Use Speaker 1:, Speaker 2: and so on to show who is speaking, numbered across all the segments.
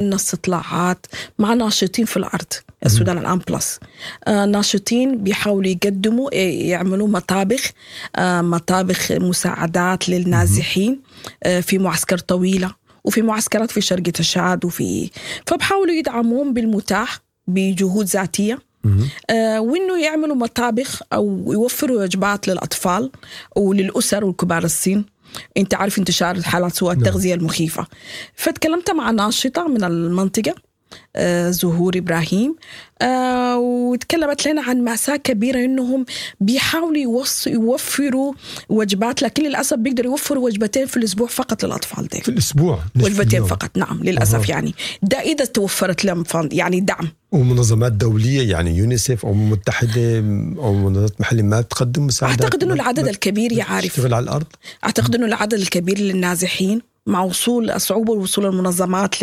Speaker 1: استطلاعات مع ناشطين في الارض، السودان الان plus، ناشطين بيحاولوا يقدموا، يعملوا مطابخ، مطابخ مساعدات للنازحين في معسكر طويلة وفي معسكرات في شرق تشاد، وفي فبحاولوا يدعموهم بالمتاح بجهود ذاتيه، وانه يعملوا مطابخ او يوفروا وجبات للاطفال وللاسر والكبار السن. انت عارف انتشار حالات سوء التغذية المخيفه. فتكلمت مع ناشطة من المنطقه، زهور ابراهيم، وتكلمت لنا عن مأساة كبيرة، انهم بيحاولوا يوفروا وجبات، لكن للاسف بيقدروا يوفروا وجبتين في الاسبوع فقط للاطفال دي.
Speaker 2: في الاسبوع؟
Speaker 1: وجبتين فقط، نعم للاسف. يعني ده اذا توفرت لهم يعني دعم.
Speaker 2: ومنظمات دولية يعني يونيسيف أو المتحدة أو منظمات محلية ما تقدم مساعدات؟
Speaker 1: اعتقد انه العدد الكبير يعرف
Speaker 2: تشتغل على الأرض.
Speaker 1: اعتقد انه العدد الكبير للنازحين مع وصول صعوبة وصول المنظمات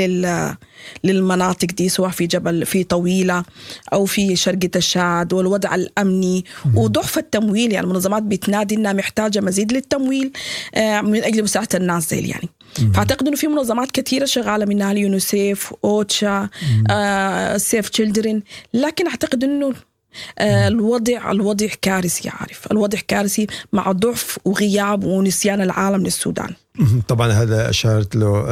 Speaker 1: للمناطق دي، سواء في جبل في طويلة أو في شرق تشاد، والوضع الأمني وضعف التمويل. يعني المنظمات بتنادي إنها محتاجة مزيد للتمويل من أجل مساعدة الناس دي يعني. فأعتقد إنه في منظمات كثيرة شغالة، منها اليونيسيف، أوتشا، Save Children، لكن أعتقد إنه الوضع كارثي، عارف، الوضع كارثي مع ضعف وغياب ونسيان العالم للسودان.
Speaker 2: طبعا هذا اشارت له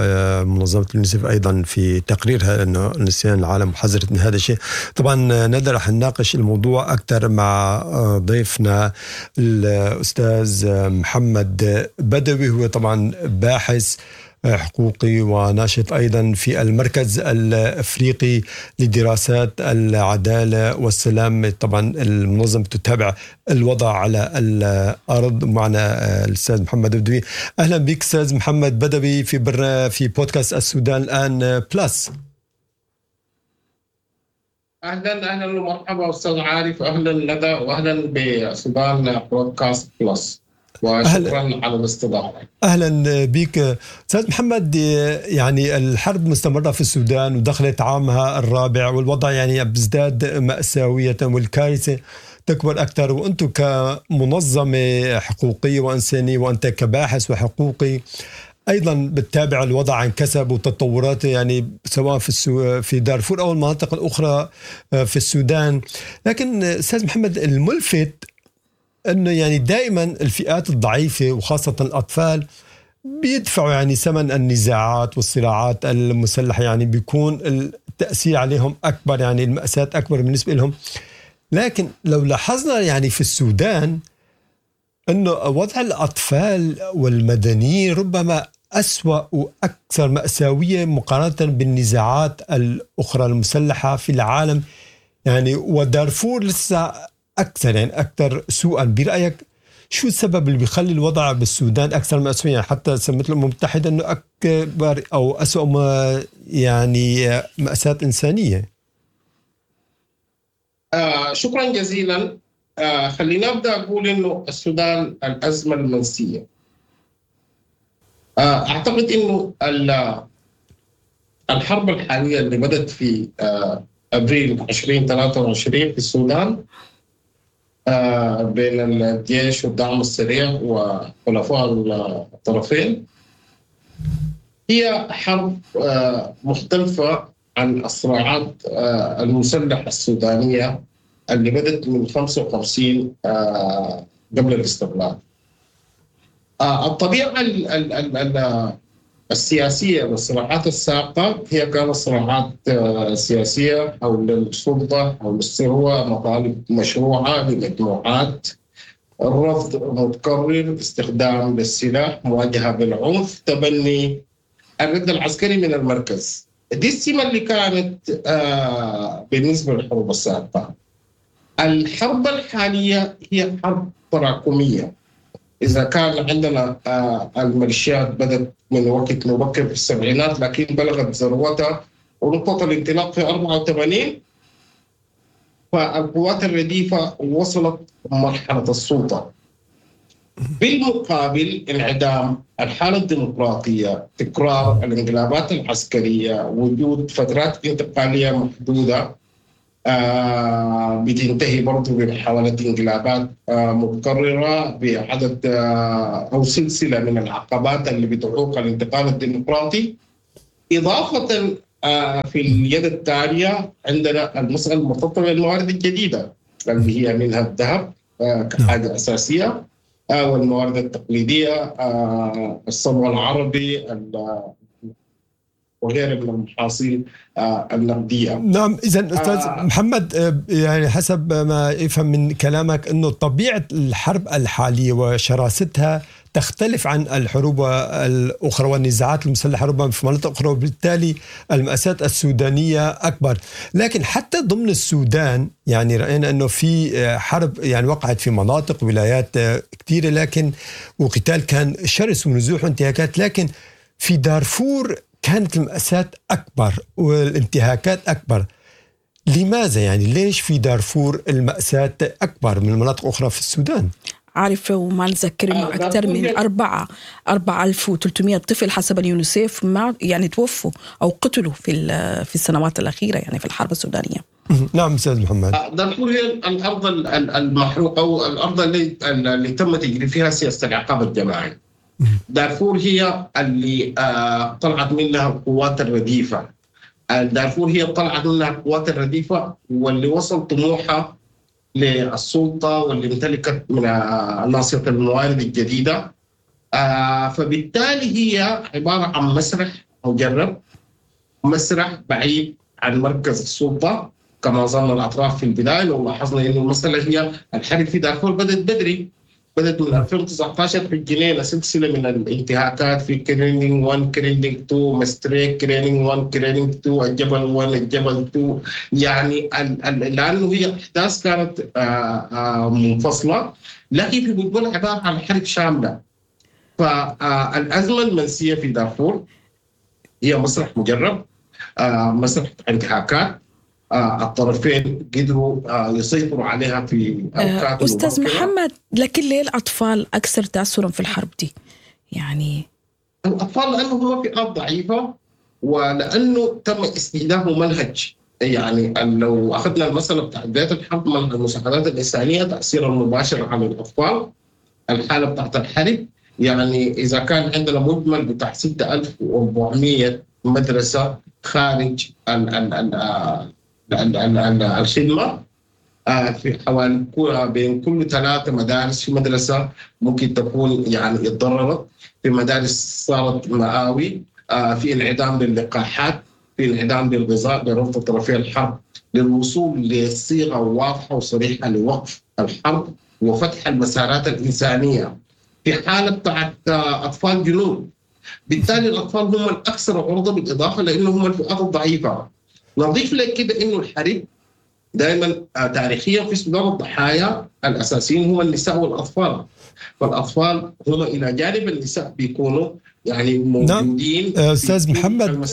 Speaker 2: منظمة اليونيسف ايضا في تقريرها، انه نسيان العالم، وحذرت من هذا الشيء. طبعا ندى، رح نناقش الموضوع اكثر مع ضيفنا الاستاذ محمد بدوي، هو طبعا باحث حقوقي وناشط ايضا في المركز الافريقي لدراسات العدالة والسلام، طبعا المنظمة تتابع الوضع على الارض. معنا الاستاذ محمد بدوي. اهلا بك استاذ محمد بدوي في بودكاست السودان الان plus.
Speaker 3: اهلا اهلا ومرحبا استاذ عارف، اهلا ندى، واهلا بسودان بودكاست plus، وشكرا على الاستضافه.
Speaker 2: اهلا بك استاذ محمد. يعني الحرب مستمرة في السودان ودخلت عامها الرابع، والوضع يعني بيزداد ماساوية والكارثه تكبر اكثر، وانتم كمنظمه حقوقيه وانسانيه وانت كباحث وحقوقي ايضا بتتابع الوضع عن كثب وتطوراته، يعني سواء في دارفور او المناطق الاخرى في السودان. لكن استاذ محمد، الملفت انه يعني دائما الفئات الضعيفة وخاصة الاطفال بيدفعوا يعني ثمن النزاعات والصراعات المسلحه، يعني بيكون التاثير عليهم اكبر، يعني الماساة اكبر بالنسبة لهم. لكن لو لاحظنا يعني في السودان انه وضع الاطفال والمدنيين ربما أسوأ وأكثر مأساوية مقارنة بالنزاعات الأخرى المسلحة في العالم، يعني ودارفور لسه أكثر، يعني أكثر سوءا. برأيك شو السبب اللي بيخلي الوضع بالسودان أكثر مأساوية، يعني حتى سمت الأمم المتحدة أنه أكبر أو أسوأ ما يعني مأساة إنسانية؟
Speaker 3: شكرا جزيلا. خلينا أبدأ أقول أنه السودان الأزمة المنسية. أعتقد أنه الحرب الحالية اللي بدأت في أبريل 2023 في السودان بين الجيش والدعم السريع وحلفاء الطرفين هي حرب مختلفة عن الصراعات المسلحة السودانية اللي بدأت من 55 قبل الاستقلال. الطبيعة السياسية للصراعات السابقة هي كانت صراعات سياسية حول السلطة، حول الثروة، مطالب مشروعة لمجموعات، الرفض متكرر، استخدام للسلاح، مواجهة بالعنف، تبني الرد العسكري من المركز. دي السمة اللي كانت بالنسبة للحروب السابقة. الحرب الحالية هي حرب تراكمية. إذا كان عندنا الميليشيات بدأت من وقت مبكر في السبعينات، لكن بلغت ذروتها ونقطة الانطلاق في 84، فالقوات الرديفة وصلت مرحلة السلطة. بالمقابل انعدام الحالة الديمقراطية، تكرار الانقلابات العسكرية، وجود فترات انتقالية محدودة بتنتهي برضو بمحاولة انقلابات متكررة، بعدد أو سلسلة من العقبات اللي بتعوق الانتقال الديمقراطي، إضافة في اليد الثانية عندنا المسالة المرتبطة بالموارد الجديدة اللي هي منها الذهب كحاجة اساسية، والموارد التقليدية، الصبغ العربي وغيرها من المحاصيل النقدية.
Speaker 2: نعم، اذا استاذ محمد، يعني حسب ما يفهم من كلامك انه طبيعة الحرب الحالية وشراستها تختلف عن الحروب الاخرى والنزاعات المسلحة ربما في مناطق اخرى، وبالتالي المأساة السودانية اكبر، لكن حتى ضمن السودان يعني راينا انه في حرب يعني وقعت في مناطق ولايات كثيرة، لكن وقتال كان شرس ونزوح وانتهاكات، لكن في دارفور كانت المأساة أكبر والانتهاكات أكبر. لماذا يعني ليش في دارفور المأساة أكبر من مناطق أخرى في السودان؟
Speaker 1: عارفة، وما نذكر إنه أكثر من 4300 طفل حسب اليونيسيف ما يعني توفوا أو قتلوا في السنوات الأخيرة يعني في الحرب السودانية.
Speaker 2: نعم أستاذ محمد.
Speaker 3: دارفور هي الأرض المحروقة أو الأرض اللي تم تجري فيها سياسة العقاب الجماعي. دارفور هي اللي طلعت منها القوات الرديفة. دارفور هي طلعت منها القوات الرديفة واللي وصل طموحها للسلطة واللي امتلكت من ناصية الموارد الجديدة. فبالتالي هي عبارة عن مسرح مجرب، مسرح بعيد عن مركز السلطة كما ظن الأطراف في البداية. لو لاحظنا أن المسألة هي الحرب في دارفور بدأت بدري، بدأت من 2019 في الجنينة، سلسلة من الانتهاكات في كرينينج 1، كرينينج 2، مستريك، كرينينج 1، كرينينج 2، الجبل 1، الجبل 2، يعني لأنه هي أحداث كانت منفصلة، لكن في مجملها عبارة عن حرب شاملة. فالأزمة المنسية في دارفور هي مسرح مجرب، مسرح انتهاكات، الطرفين قدروا يسيطروا عليها في اوقات.
Speaker 1: استاذ محمد، لكن ليه الاطفال اكثر تاثرا في الحرب دي؟ يعني
Speaker 3: الاطفال لانه هم فئات ضعيفة، ولانه تم استهداف منهج. يعني لو اخذنا المسالة بتاعت بداية الحرب من المساعدات الانسانية، تاثيرها المباشر على الاطفال، الحالة بتاعت الحرب، يعني اذا كان عندنا مجمل بتاع 6400 مدرسه خارج الخدمة، في حوالي بين كل 3 مدارس في مدرسة ممكن تكون يعني اتضررت، في مدارس صارت مآوي، في انعدام للقاحات، في انعدام للغذاء، برفض طرفي الحرب للوصول لصيغة واضحة وصريحة لوقف الحرب وفتح المسارات الإنسانية في حالة بتاعت أطفال جنود. بالتالي الأطفال هم الأكثر عرضة، بالإضافة لأنهم هم الفئات الضعيفة. نضيف لك كده انه الحرب دائما تاريخيا في السودان الضحايا الاساسيين هم النساء والاطفال، فالاطفال هم الى جانب النساء بيكونوا يعني موجودين.
Speaker 2: نعم. استاذ محمد،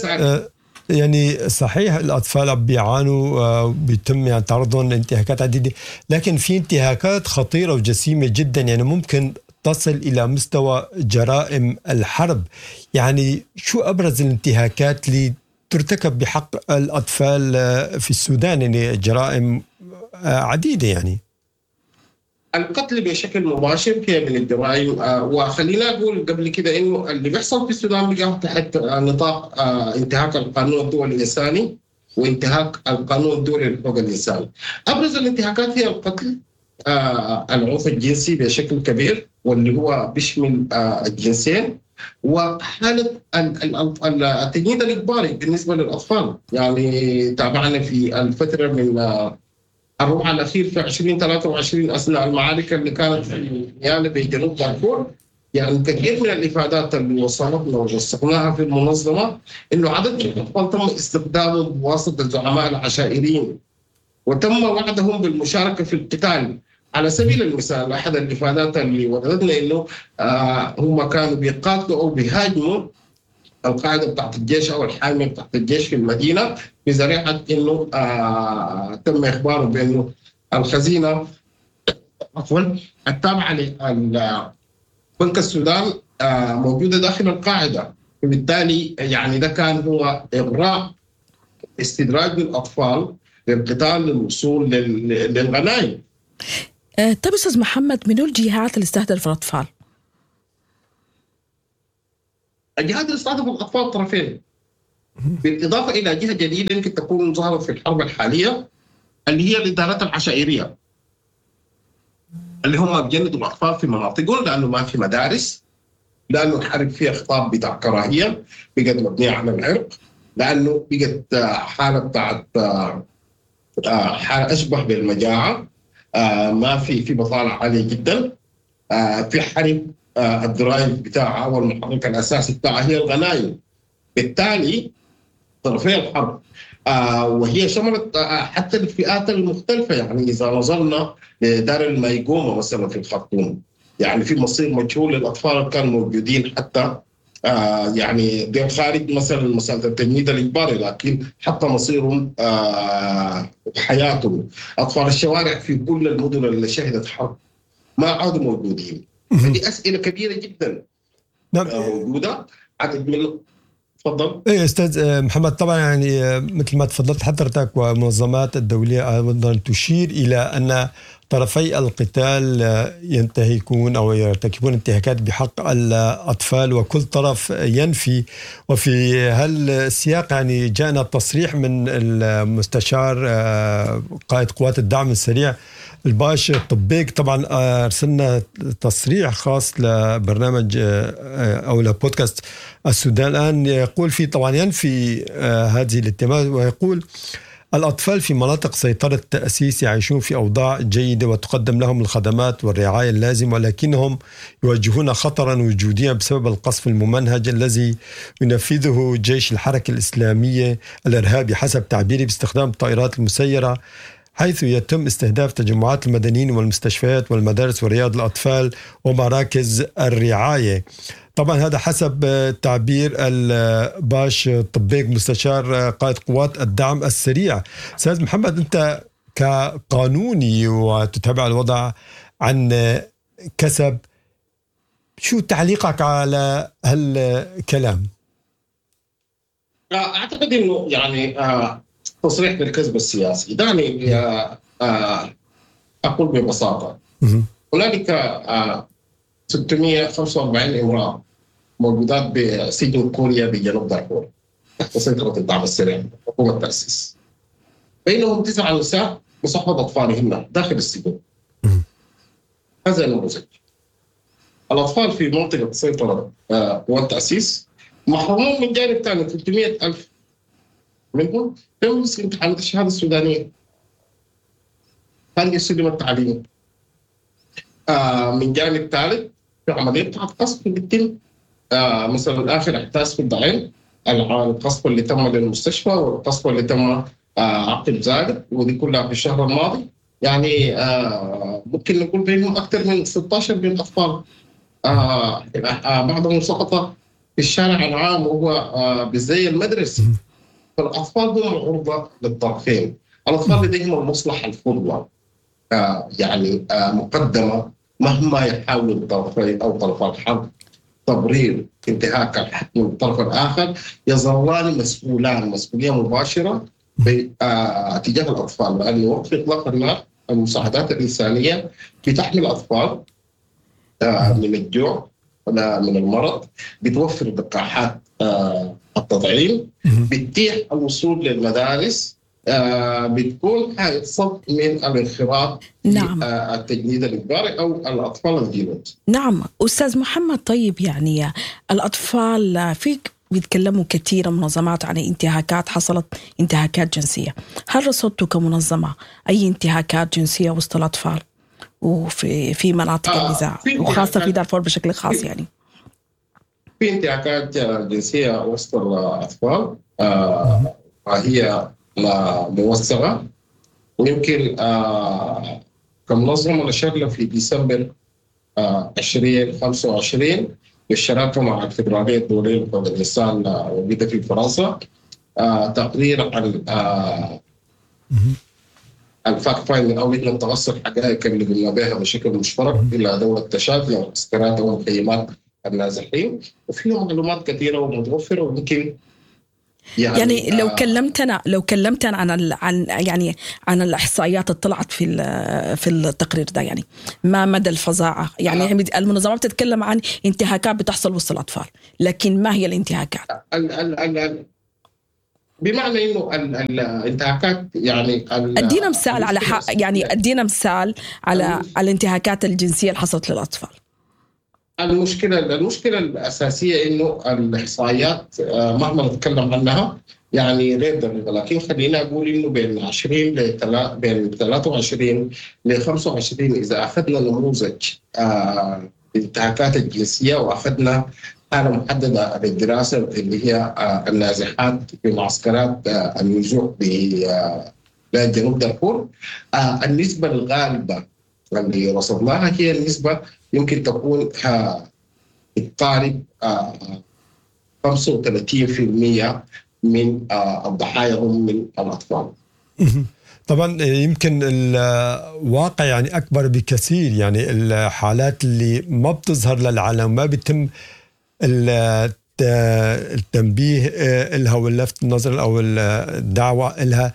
Speaker 2: يعني صحيح الاطفال بيعانوا بيتم يعني تعرضهم لانتهاكات عديدة، لكن في انتهاكات خطيرة وجسيمه جدا يعني ممكن تصل الى مستوى جرائم الحرب. يعني شو ابرز الانتهاكات اللي ترتكب بحق الأطفال في السودان؟ يعني جرائم عديدة. يعني
Speaker 3: القتل بشكل مباشر هي من الجرائم. وخلينا أقول قبل كده إنه اللي بيحصل في السودان بيقع تحت نطاق انتهاك القانون الدولي الإنساني وانتهاك القانون الدولي لحقوق الإنسان. أبرز الانتهاكات هي القتل، العنف الجنسي بشكل كبير واللي هو بيشمل الجنسين، وحالة التجنيد الإجباري بالنسبة للأطفال. يعني تابعنا في الفترة من الربع الأخير في 2023 أثناء المعارك اللي كانت في نيالا بجنوب دارفور، يعني كثير من الإفادات اللي وصلتنا ووثقناها في المنظمة إنه عدد من الأطفال تم استخدامهم بواسطة الزعماء العشائريين وتم وعدهم بالمشاركة في القتال. على سبيل المثال أحد الإفادات اللي وردتنا إنه هم كانوا بيقاتلوا أو بيهاجموا القاعدة بتاعت الجيش أو الحامية بتاعت الجيش في المدينة بذريعة إنه تم إخباره بإنه الخزينة عفوا التابعة لبنك السودان موجودة داخل القاعدة، وبالتالي يعني ده كان هو إغراء استدراج للأطفال للقتال للوصول للغنائم.
Speaker 1: طيب أستاذ محمد، من الجهات اللي استهدفت الأطفال؟
Speaker 3: الجهات اللي استهدفت الأطفال طرفين. بالاضافة الى جهة جديدة يمكن تكون ظهرت في الحرب الحالية اللي هي الادارات العشائريه، اللي هم بيجندوا الاطفال في مناطقهم لانه ما في مدارس، لانه الحرب فيها خطاب بتاع كراهية بقت مبنية على العرق، لانه بقت حاله بتاعت حاله اشبه بالمجاعه، ما في بطاله عالية جدا، في حرب ال drive بتاعها والمحرك الاساسي بتاعها هي الغنائم. بالتالي طرفي الحرب وهي شملت حتى الفئات المختلفة. يعني اذا نظرنا لدار المايقوما مثلا في الخرطوم، يعني في مصير مجهول للاطفال اللي كانوا موجودين حتى يعني دير خارج مثلا مسالة التجنيد الاجباري، لكن حتى مصيرهم وحياتهم. اطفال الشوارع في كل المدن اللي شهدت حرب ما عادوا موجودين. هذه اسئلة كبيرة جدا
Speaker 2: نعم.
Speaker 3: موجودة عدد من. تفضل.
Speaker 2: ايه استاذ محمد، طبعا يعني مثل ما تفضلت حضرتك ومنظمات الدولية ايضا تشير الى ان طرفي القتال ينتهكون او يرتكبون انتهاكات بحق الاطفال، وكل طرف ينفي. وفي هالسياق يعني جاءنا تصريح من المستشار قائد قوات الدعم السريع الباش طبيق. طبعا ارسلنا تصريح خاص لبرنامج او لبودكاست السودان الان، يقول فيه طبعا ينفي هذه الاتهامات، ويقول الأطفال في مناطق سيطرة التأسيس يعيشون في أوضاع جيدة وتقدم لهم الخدمات والرعاية اللازمة، ولكنهم يواجهون خطرا وجوديا بسبب القصف الممنهج الذي ينفذه جيش الحركة الإسلامية الإرهابي حسب تعبيره باستخدام الطائرات المسيرة، حيث يتم استهداف تجمعات المدنيين والمستشفيات والمدارس ورياض الأطفال ومراكز الرعاية. طبعا هذا حسب تعبير الباش طبيق مستشار قائد قوات الدعم السريع. أستاذ محمد، أنت كقانوني وتتابع الوضع عن كسب، شو تعليقك على هالكلام؟
Speaker 3: أعتقد أنه يعني تصريح بالكذب السياسي. دعني أقول ببساطة، هنالك 645 امرأة موجودات بسجن كوريا بجنوب دارفور تحت سيطرة الدعم السريع حكومة التأسيس، بينهم 9 نساء بصحبة أطفالهن داخل السجن. هذا النموذج. الأطفال في منطقة سيطرة قوات التأسيس محرومون من جانب ثاني، 300,000 منهم لم يسلم امتحانات الشهادة السودانية، هل يسلم التعليم. من جانب ثالث في عملية بتاعت قصف بتتم، مثلا آخر أحداث في الضعين، القصف اللي تم للمستشفى والقصف اللي تم عقب ذلك، ودي كلها في الشهر الماضي. يعني ممكن نقول بينهم أكثر من 16 من الأطفال، بعضهم سقط في الشارع العام وهو بالزي المدرسي. فالأطفال هم عرضة للطرفين. الأطفال لديهم المصلحة الفضلى يعني مقدمة، مهما يحاول الطرفين أو طرف الحرب تبرير انتهاك الحق من الطرف الآخر، يظلان مسؤولان مسؤولية مباشرة تجاه الأطفال، لأن وقف إطلاق النار المساعدات الإنسانية بتحمي الأطفال من الجوع ولا من المرض، بتوفر لقاحات التطعيم، بتتيح الوصول للمدارس، بتكون حائط صد من الانخراط.
Speaker 1: نعم.
Speaker 3: التجنيد الإجباري أو الأطفال الجنود.
Speaker 1: نعم أستاذ محمد، طيب يعني الأطفال فيك بيتكلموا كثير منظمات عن انتهاكات حصلت، انتهاكات جنسية، هل رصدتوا كمنظمة أي انتهاكات جنسية وسط الأطفال وفي مناطق النزاع وخاصة في دارفور بشكل خاص؟ يعني
Speaker 3: في انتهاكات جنسية وسط الأطفال وهي موثقة، ويمكن كمنظمة نشرنا في ديسمبر 2025 بالشراكة مع الفدرالية الدولية لحقوق الإنسان وجد في فرنسا تقرير عن ال fact finding أو لجنة تقصي الحقائق اللي قمنا بها بشكل مشترك إلى دولة تشاد لمعسكرات ومخيمات النازحين، وفيها معلومات كثيرة ومتوفرة. ويمكن
Speaker 1: يعني لو كلمتنا عن يعني عن الاحصائيات اللي طلعت في التقرير ده، يعني ما مدى الفظاعه؟ يعني المنظمات بتتكلم عن انتهاكات بتحصل وسط الاطفال، لكن ما هي الانتهاكات؟
Speaker 3: بمعنى انه الانتهاكات يعني
Speaker 1: ادينا مثال على يعني ادينا مثال على الانتهاكات الجنسية اللي حصلت للاطفال.
Speaker 3: المشكلة الاساسية انه الاحصائيات مهما نتكلم عنها يعني غير دقيقة، لكن خلينا اقول انه بين 20 بين 23 ل 25 اذا اخذنا نموذج الانتهاكات الجنسية واخذنا حاله محددة للدراسة اللي هي النازحات في معسكرات النزوح بجنوب دارفور، النسبة الغالبة اللي رصدناها هي النسبة يمكن تكون تقارب 35% من الضحايا هم من الاطفال.
Speaker 2: طبعا يمكن الواقع يعني اكبر بكثير، يعني الحالات اللي ما بتظهر للعلن ما بيتم التنبيه لها واللفت النظر او الدعوة لها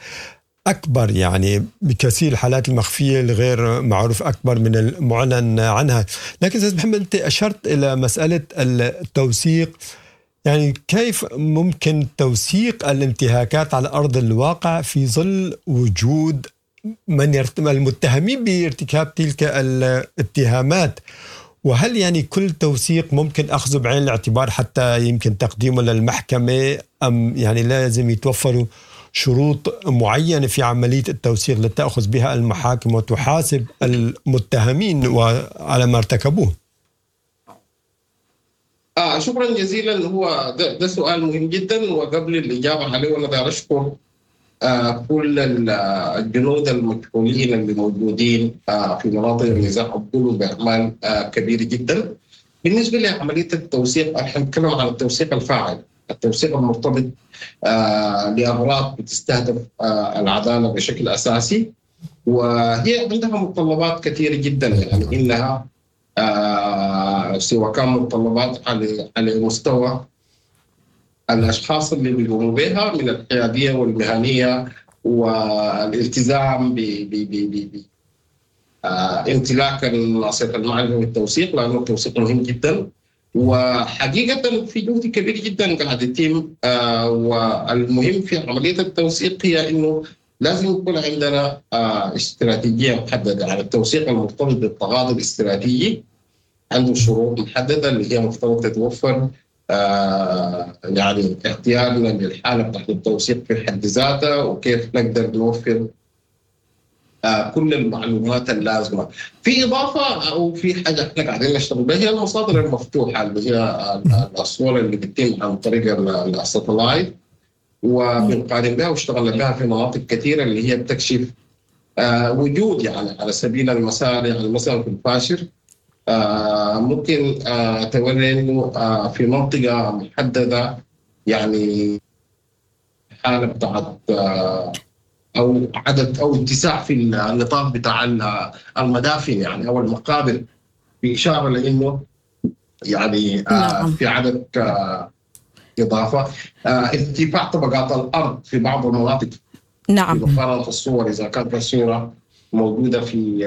Speaker 2: اكبر يعني بكثير. الحالات المخفيه الغير معروف اكبر من المعلن عنها. لكن استاذ محمد، انت اشرت الى مسالة التوثيق، يعني كيف ممكن توثيق الانتهاكات على ارض الواقع في ظل وجود من المتهمين بارتكاب تلك الاتهامات؟ وهل يعني كل توثيق ممكن أخذه بعين الاعتبار حتى يمكن تقديمه للمحكمة، أم يعني لازم يتوفروا شروط معينة في عملية التوثيق لتأخذ بها المحاكم وتحاسب المتهمين وعلى ما ارتكبوه؟
Speaker 3: شكرا جزيلا. هو ده سؤال مهم جدا، وقبل الإجابة عليه أنا داير أشكر كل الجنود المجهولين اللي موجودين في مناطق النزاع وبيقوموا باعمال كبيرة جدا. بالنسبة لعملية التوثيق، احنا نتكلم عن التوثيق الفاعل، التوثيق المرتبط لاغراض بتستهدف العدالة بشكل اساسي، وهي عندها متطلبات كثيرة جدا، يعني انها سواء كان متطلبات على مستوى الاشخاص اللي بيقوموا بها من الحيادية والمهنية والالتزام ب ب ب ب امتلاك ناصية المعرفة والتوثيق، لانه التوثيق مهم جدا. وحقيقة في جهد كبير جدا قاعد يتم، والمهم في عملية التوثيق هي انه لازم يكون عندنا استراتيجية محددة. يعني التوثيق المرتبط بالتغاضي الاستراتيجي عنده شروط محددة اللي هي مفترض تتوفر، يعني اختيارنا للحالة بتاعت التوثيق في حد ذاتها، وكيف نقدر نوفر كل المعلومات اللازمة. في اضافه او في حاجة احنا قاعدين نشتغل بها هي المصادر المفتوحة اللي هي الصور اللي بتتم عن طريق ال satellite، وبنقارن بها واشتغلنا بها في مناطق كثيرة اللي هي بتكشف وجود، يعني على سبيل المثال يعني مثلا في الفاشر ممكن توري انه في منطقة محددة يعني حاله بتاعت او عدد او اتساع في النطاق بتاع المدافن يعني او المقابر، باشارة لانه يعني في عدد اضافه، ارتفاع طبقات الارض في بعض المناطق.
Speaker 1: نعم.
Speaker 3: مقارنة الصور، اذا كانت الصورة موجودة في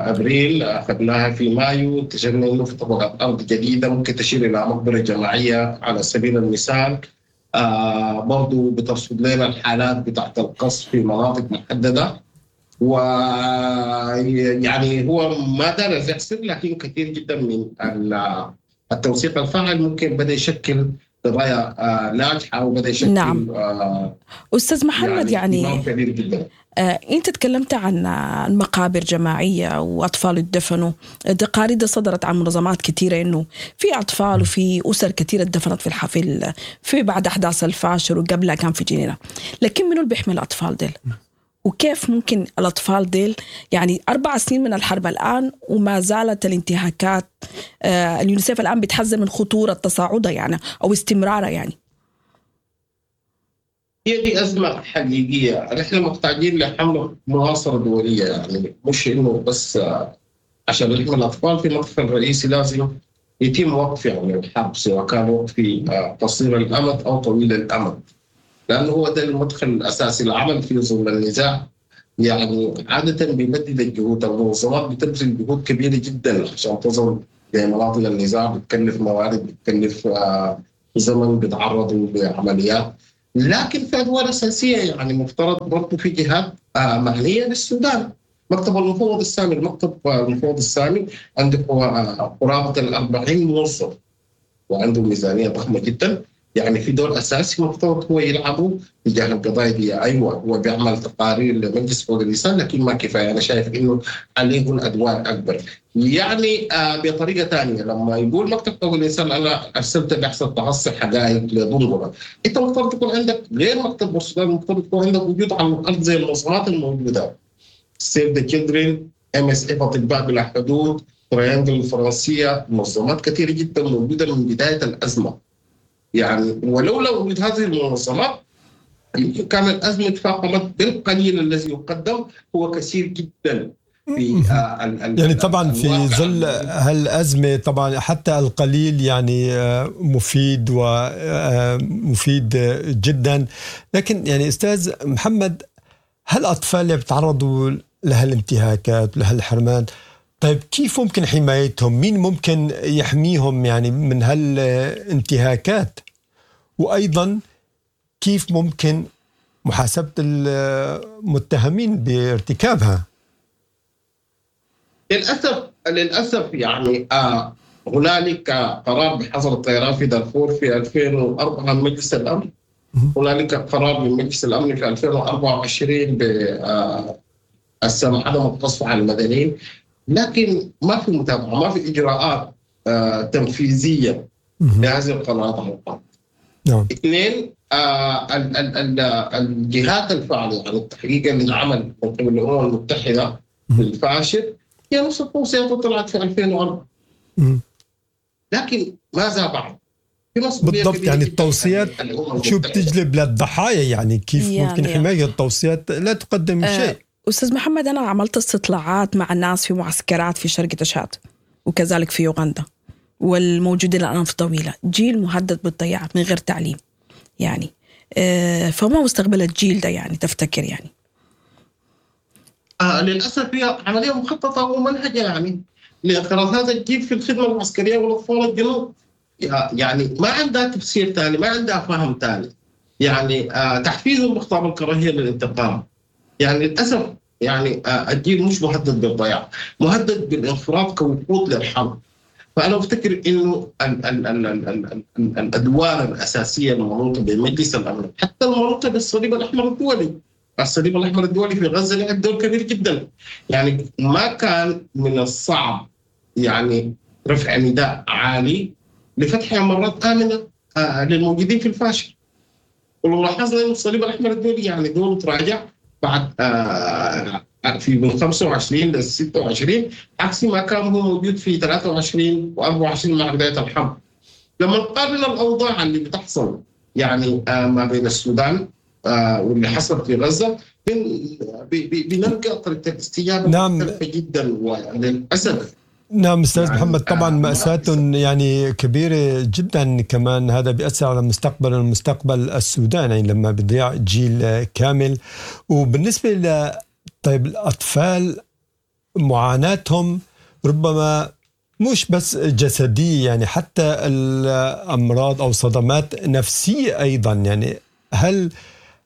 Speaker 3: ابريل اخذناها في مايو، اكتشفنا انه في طبقات ارض جديدة ممكن تشير الى مقبره جماعية على سبيل المثال. برضو بترصد لنا الحالات بتاعت القصف في مناطق محددة، ويعني هو ما دار يحصل، لكن كثير جدا من التوثيق الفاعل ممكن بدا يشكل قضايا ناجحة وبدا يشكل.
Speaker 1: نعم. استاذ محمد، يعني
Speaker 3: كبير جدا.
Speaker 1: انت تكلمت عن المقابر جماعية واطفال اتدفنوا، تقارير صدرت عن منظمات كثيرة انه في اطفال وفي اسر كثيرة اتدفنت في الحفل في بعد احداث الفاشر وقبلها كان في جنينة، لكن منو اللي بيحمي الاطفال ديل؟ وكيف ممكن الاطفال ديل، يعني 4 سنين من الحرب الان وما زالت الانتهاكات، اليونيسيف الان بتحذر من خطورة تصاعدها يعني او استمرارها. يعني
Speaker 3: هي دي أزمة حقيقية، نحن محتاجين لحملة مناصرة دولية، يعني مش إنه بس عشان نحمي الأطفال. في المدخل الرئيسي لازم يتم وقف يعني الحرب، سواء كان وقف قصير الأمد أو طويل الأمد، لأنه هو ده المدخل الأساسي. العمل في ظل النزاع يعني عادة بيمدد الجهود، المنظمات بتبذل جهود كبيرة جدا عشان تصل لمناطق النزاع، بتكلف موارد، بتكلف زمن، بيتعرضوا لعمليات. لكن في ادوار اساسية يعني مفترض برضه في جهات معنية للسودان. مكتب المفوض السامي، المكتب المفوض السامي عنده قرابة ال 40 موظف وعنده ميزانية ضخمة جدا. يعني في دور اساسي مفترض هو يلعبه تجاه القضايا دي. ايوه هو بيعمل تقارير لمجلس حقوق الانسان، لكن ما كفاية. انا شايف انه عليه الادوار اكبر. يعني بطريقة ثانية لما يقول مكتب حقوق الانسان انا ارسلت بحث تحصي حقائق لدنقله، انت مفترض يكون عندك غير مكتب بورسودان، مفترض يكون عندك وجود على الارض زي المنظمات الموجودة، Save the Children، MSF، اطباء بلا حدود، Triangle الفرنسية، منظمات كثيرة جدا موجودة من بداية الازمة. يعني ولولا وجود هذه المنظمات يمكن كان الازمة تفاقمت. بالقليل الذي يقدم هو كثير جدا في
Speaker 2: يعني طبعا في ظل هالازمه طبعا حتى القليل يعني مفيد ومفيد جدا. لكن يعني استاذ محمد، هالاطفال اللي بيتعرضوا لهالانتهاكات لهالحرمان، طيب كيف ممكن حمايتهم؟ مين ممكن يحميهم يعني من هالانتهاكات؟ وأيضا كيف ممكن محاسبة المتهمين بارتكابها؟
Speaker 3: للأسف يعني هنالك قرار بحظر الطيران في دارفور في 2004 من مجلس الأمن. هنالك قرار من مجلس الأمن في 2024 بالسماح عدم القصف على المدنيين، لكن ما في متابعه، ما في اجراءات تنفيذية لهذه القرارات على الارض. نعم. اثنين، الجهات الفاعلة، يعني التحقيق اللي انعمل من قبل الامم المتحدة في الفاشر هي نفس التوصيات طلعت في 2004. لكن ماذا بعد؟
Speaker 2: بالضبط، يعني التوصيات شو بتجلب للضحايا؟ يعني كيف ممكن حماية التوصيات لا تقدم شيء؟
Speaker 1: أستاذ محمد، أنا عملت استطلاعات مع الناس في معسكرات في شرق تشاد وكذلك في يوغندا والموجودين الآن في طويلة، جيل مهدد بالضياع من غير تعليم يعني، فما مستقبل الجيل ده يعني تفتكر يعني؟
Speaker 3: للأسف هي عملية مخططة ومنهجة يعني لإنقراض هذا الجيل في الخدمة العسكرية والأطفال الجنوب. يعني ما عندها تفسير ثاني، ما عندها فهم ثاني. يعني تحفيزهم بخطاب الكراهية للانتقام. يعني للأسف يعني الجيل مش مهدد بالضياع، مهدد بالانخراط كوقود للحرب. فأنا أفتكر إنه ال ال ال ال ال ال الأدوار الأساسية المنوطة بمجلس الأمن، حتى المنوطة بالصليب الأحمر الدولي. الصليب الأحمر الدولي في غزة لعب دور كبير جدا. يعني ما كان من الصعب يعني رفع نداء عالي لفتح مرات آمنة للموجودين في الفاشر. ولو لاحظنا إنه الصليب الأحمر الدولي يعني دوره تراجع بعد في من 25 ل 26، عكس ما كان هو موجود في 23 و24 مع بداية الحرب. لما نقارن الاوضاع اللي بتحصل يعني ما بين السودان واللي حصل في غزة، بنلقى طريقه الاستجابة مختلفة جدا وللاسف.
Speaker 2: نعم أستاذ يعني محمد، طبعا مأساة يعني كبيرة جدا، كمان هذا بيأثر على مستقبل السودان يعني لما بيضيع جيل كامل. وبالنسبة ل طيب الأطفال، معاناتهم ربما مش بس جسدية، يعني حتى الأمراض أو صدمات نفسية أيضا. يعني هل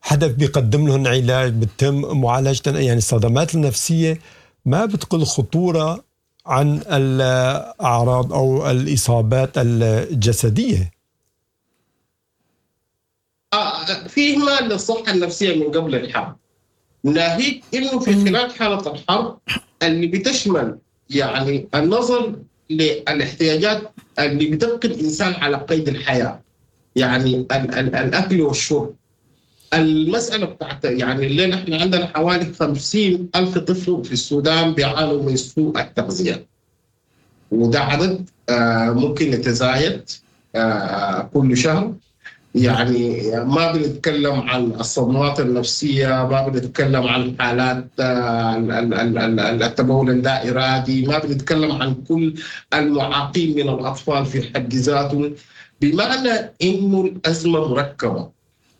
Speaker 2: حدا بيقدم لهم علاج، بتم معالجة يعني الصدمات النفسية ما بتقل خطورة عن الأعراض أو الإصابات الجسدية؟
Speaker 3: في إهمال للصحة النفسية من قبل الحرب، ناهيك إنه في خلال حالة الحرب اللي بتشمل يعني النظر للاحتياجات اللي بتبقي الإنسان على قيد الحياة، يعني الأكل والشرب. المسألة بتاعت يعني اللي نحن عندنا حوالي 50,000 طفل في السودان بيعانوا من سوء التغذية، وده عدد ممكن يتزايد كل شهر. يعني ما بنتكلم عن الصدمات النفسية، ما بنتكلم عن حالات التبول اللا إرادي، ما بنتكلم عن كل المعاقين من الأطفال في حد ذاتهم. بمعنى إنه الأزمة مركبة،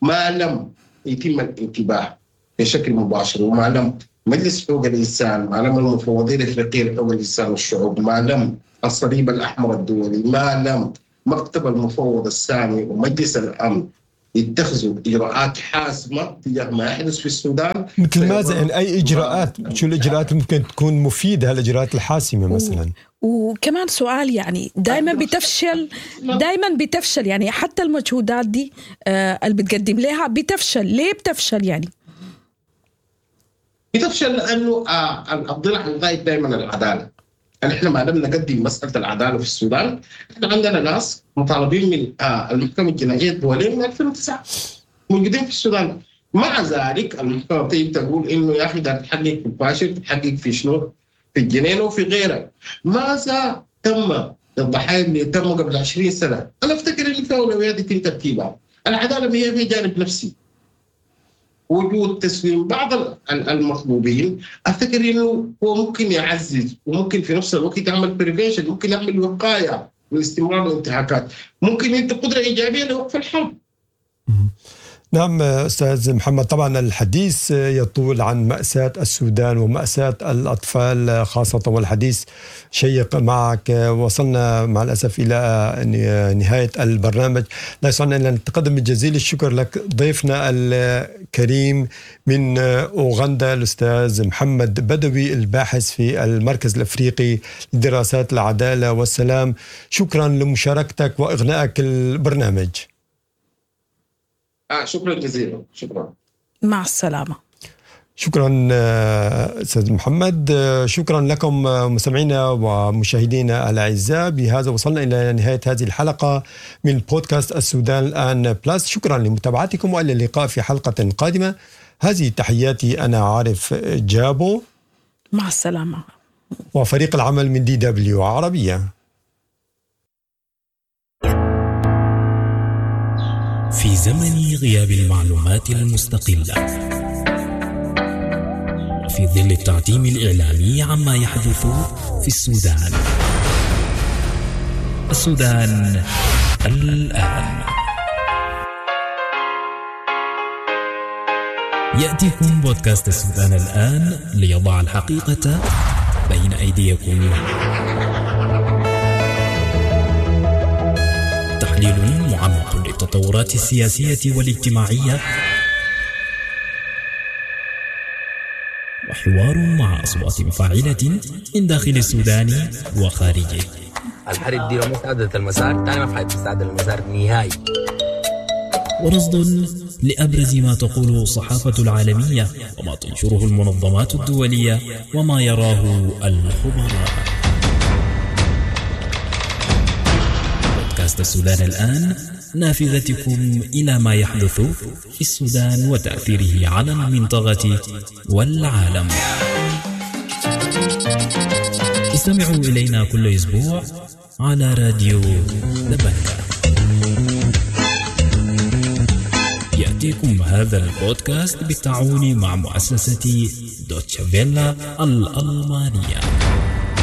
Speaker 3: ما لم يتم الانتباه بشكل مباشر، وما لم مجلس حقوق الإنسان، ما لم المفوضية الإفريقية لحقوق الإنسان والشعوب، ما لم الصليب الأحمر الدولي، ما لم مكتب المفوض السامي ومجلس الأمن يتخذوا اجراءات حاسمة تجاه ما يحدث في السودان.
Speaker 2: مثل ماذا يعني؟ اي اجراءات؟ شو الاجراءات اللي ممكن تكون مفيدة، هالاجراءات الحاسمة مثلا؟
Speaker 1: وكمان سؤال، يعني دائما بتفشل، دائما بتفشل، يعني حتى المجهودات دي اللي بتقدم لها بتفشل، ليه بتفشل يعني؟
Speaker 3: بتفشل لانه الضلع الغايب دائما العدالة. احنا ما لم نقدم مسالة العدالة في السودان، احنا عندنا ناس مطالبين من المحكمة الجنائية الدولية من 2009 موجودين في السودان، مع ذلك المحكمة بتيجي تقول انه يا اخي ده تحقق في الفاشل، تحقق في شنو؟ في الجنينة وفي غيرها. ماذا تم للضحايا اللي تم قبل 20 سنة؟ انا افتكر ان في اولويات يتم ترتيبها. العدالة هي في جانب نفسي. وجود تسليم بعض المطلوبين افتكر انه هو ممكن يعزز، وممكن في نفس الوقت يعمل prevention، ممكن يعمل وقاية من استمرار الانتهاكات، ممكن يدي قدره ايجابية لوقف الحرب.
Speaker 2: نعم أستاذ محمد، طبعا الحديث يطول عن مأساة السودان ومأساة الأطفال خاصة، والحديث شيق معك. وصلنا مع الأسف إلى نهاية البرنامج، لا يسعنا إلا أن نتقدم بجزيل الشكر لك ضيفنا الكريم من أوغندا الأستاذ محمد بدوي، الباحث في المركز الأفريقي لدراسات العدالة والسلام. شكرا لمشاركتك وإغنائك البرنامج.
Speaker 3: شكرا جزيلا. شكرا،
Speaker 1: مع السلامة.
Speaker 2: شكرا أستاذ محمد. شكرا لكم مستمعينا ومشاهدينا الأعزاء. بهذا وصلنا إلى نهاية هذه الحلقة من بودكاست السودان الآن بلس. شكرا لمتابعتكم وإلى اللقاء في حلقة قادمة. هذه تحياتي، أنا عارف جابو.
Speaker 1: مع السلامة.
Speaker 2: وفريق العمل من DW عربية.
Speaker 4: في زمن غياب المعلومات المستقلة وفي ظل التعتيم الإعلامي عما يحدث في السودان، السودان الآن. يأتيكم بودكاست السودان الآن ليضع الحقيقة بين أيديكم. تحليل معمق للتطورات السياسية والاجتماعية، وحوار مع أصوات فاعلة من داخل السودان وخارجه.
Speaker 5: الحرب دي لو ما استعدت المسار تاني ما حتستعدل المسار نهائي.
Speaker 4: ورصد لأبرز ما تقوله الصحافة العالمية وما تنشره المنظمات الدولية وما يراه الخبراء. بودكاست السودان الآن، نافذتكم إلى ما يحدث في السودان وتأثيره على المنطقة والعالم. استمعوا إلينا كل أسبوع على راديو دبنكا. يأتيكم هذا البودكاست بالتعاون مع مؤسسة دوتشا فيلا الألمانية.